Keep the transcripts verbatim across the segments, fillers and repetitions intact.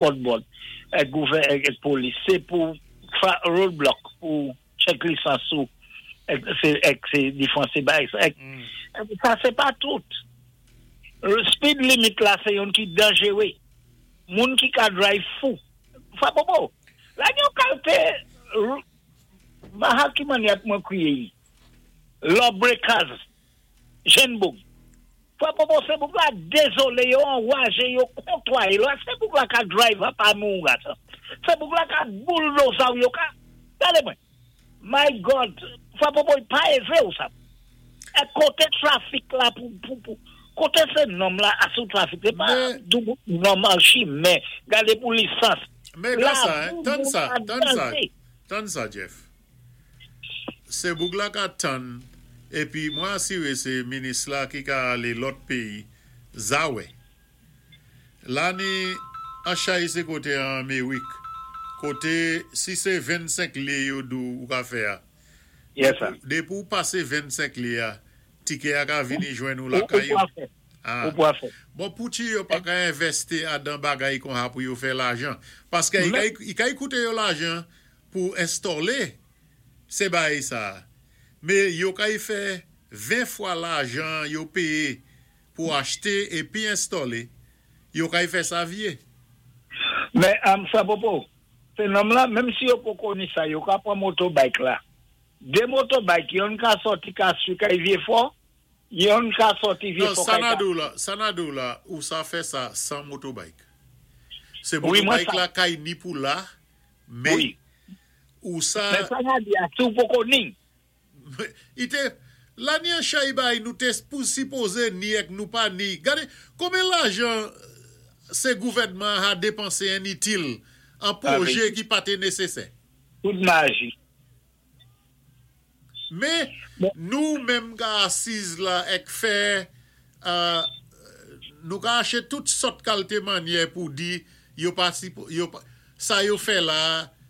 Board ek gouvè ek polis, sé pou roadblock, pou check lisans ou ek sé ek sé difwanse bay ek, sa sé pa tout. Speed limit la sé youn ki danjéwé. Moun ki ka drive fou. Fwa popo. La yon kalté maha ki manyè mwen kwiyé yi. Lawbreakers. Jenn boug. Fwa popo sé boug la dézolé, yo anwajé, yo kontwaye. La sé boug la ka drive a pa moun gata. Sé boug la ka bulldozer yo ka. Gade mwen. My God. Fwa popo pa évé ou sa. E koté traffic la pou pou pou. Koté sé nòm la asou traffic. Sé pa dou nòmal chimen. Gade pou lisans. Men la sa, tann sa, tann sa, tann sa, Jeff. Sé boug la ka tann, épi mwen asiré sé minis la ki ka alé lòt péyi, zawè. La ni an chay sé koté an Amerik, koté si sé vennsenk lyé yo dou ou ka fè a. Yes, sir. Dépi ou pasé vennsenk lyé a, tiké a ka vini jwenn ou lakay ou. Ah. Ou pou a fè. Bon, pouti yo pa ka envèsti adan bagay kon ha pou yo fè lajan? Paské i ka kouté yo lajan pou enstolé sé bagay sa. Mé yo ka y fè ven fwa lajan yo péyé pou achté épi enstolé, yo ka y fè sa vyé. Men, am sa popo, sé nòm la, menm si yo poko ni sa, yo ka pran motorbike la. Dé motorbike, youn ka sòti ka su kay Vyé Fò, youn ka sòti Vye Non, Fò sa kay na ka. dou la, sa na dou la, ou sa fè sa san motorbike. Sé Wi, mwen motorbike sa. La kay ni pou la, mé Wi. ou sa. Men sa na di a, si ou poko ni. Ite, la ni an chay bay nou te pou sipozé ni ek nou pa ni. Gade, konbyen lajan sé gouvèdman a dépansé initil an pwojé ki pa té nésésè? Tout maji. Mé Bon. nou menm ka asiz la ek fè euh, nou ka aché tout sòt kalté manyè pou di yo pa si, yo pa, sa yo fè la,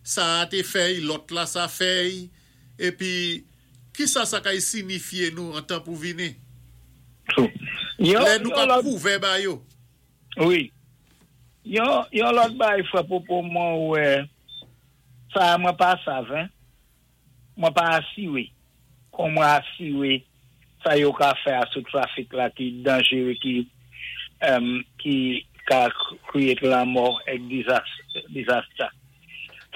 sa a té fèy, lòt la sa fèy, épi ki sa sa kay signifyé nou an tan pou vini? True. Yon, Lè nou yon ka lòt, pwouvé ba yo. Wi. Yon, yon lòt bay fwa popo mwen wè, sa mwen pa sav, hein? Mwen pa asiwé. Kon mwen asiwé, sa yo ka fè a sou traffic la ki danjere, ki, um, ki ka create lanmò ek disaster.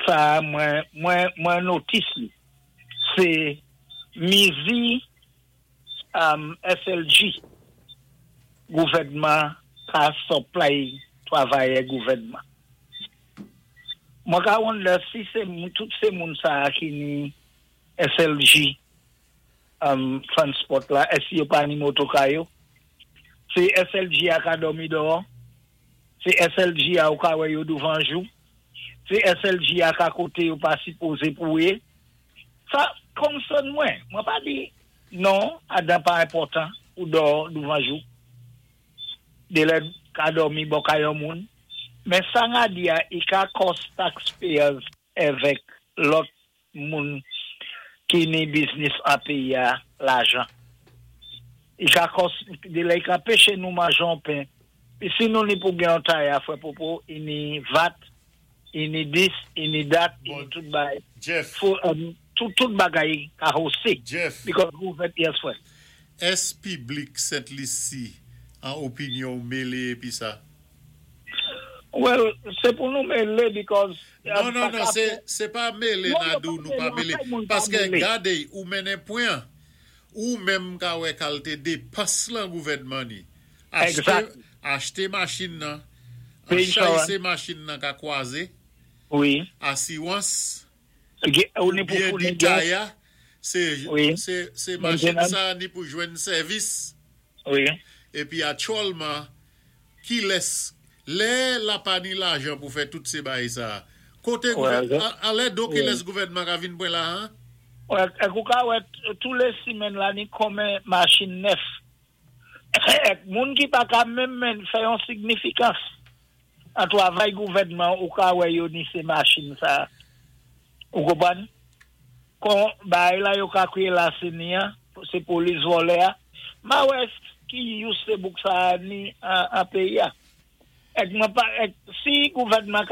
Sa mwen, mwen, mwen notice li. Se mizi um, S L G gouvèdman ka supply travayè gouvèdman. Mwen ka wonder si se moun, tout sé moun sa ki ni S L G um, transport la, èsi yo pa ni motoka yo? Se S L G a ka dòmi dòwò, se S L G a ou ka wè yo douvan jou, se S L G a ka koté yo pa sipozé pou ye. Sa concern mwen. Mwen pa di non, adan pa enpòtan ou dò douvan jou. De lè ka dòmi bò kay yon moun. Men sa nga di a, i ka cost taxpayers evèk lòt moun ki ni business an peyi a lajan. I ka cost, de lè i ka péché nou manjon pen. Pi si nou ni pou gen yon tay a fwe popo, i ni V A T, i ni this, i ni that, i ni Bon. tout bagay. Jeff, Fo, um, tout, tout bagay ka hosé. Jeff, Because gouvèt, yes, fwe. Ès piblik Sent Lisi an opinyon mélé épi sa? Well, sé pou nou mélé because Non, non, sa non, ka sé, fè- sé pa mélé Non, na yo dou pa nou pa mélé, mélé. an fèt moun pa Paské mélé. gade, ou mennen pwen, ou menm ka wè kalté dépans lan gouvèdman ni. Achté, Exact. achté machin nan, Pay an chay insurance. sé machin nan ka kwazé, Wi. asiwans, Ge- Ou ni pou bien founi di gas. taya, sé, Wi. sé, sé machin Maintenance. sa ni pou jwenn sèvis, Wi. épi aktyèlman, ki lès, lè la pa ni lajan pou fè tout sé bagay sa. Koté Ouais, gouvèn, ouais. a, alè do ki Ouais. lès gouvèdman ka vin pwen la, hein? Ouais, ek ou ka wè tous les simèn la ni konmen machin nèf. Ek moun ki pa ka menm men fè yon signifikans. An travay gouvèdman ou ka wè yo ni sé machin sa. Ou konpwann? Kon bagay la yo ka kwié la sé ni an, sé polis vòlè a. Ma wè ki use sé boug sa ni an, an péyi a. Èk mwen pa, èk, si gouvèdman